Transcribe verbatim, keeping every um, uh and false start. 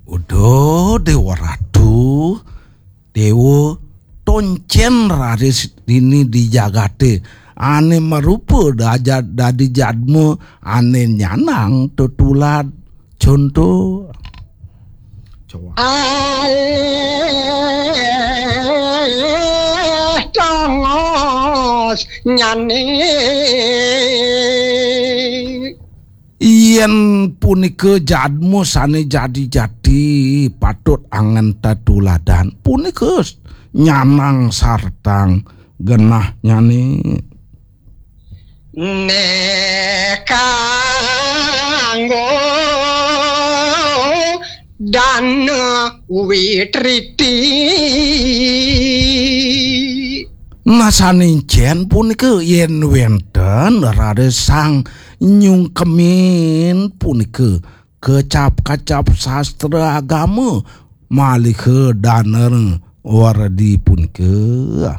Uduh, Déwa Ratu, Déwa, toncén raris dini di jagaté ané marupa daja-, dadi jadma ané nyanang tetulad conto. Coba. Alih tongos nyané. Yén punika jadma sané jati-jati patut anggén tetuladan, punika nyanang sartang genahnyané. Néh kanggo dana witriti. Nah, sané encén punika yén wénten raris sang nyungkemin punika kecap-kecap sastra agama malih dana werdi punika.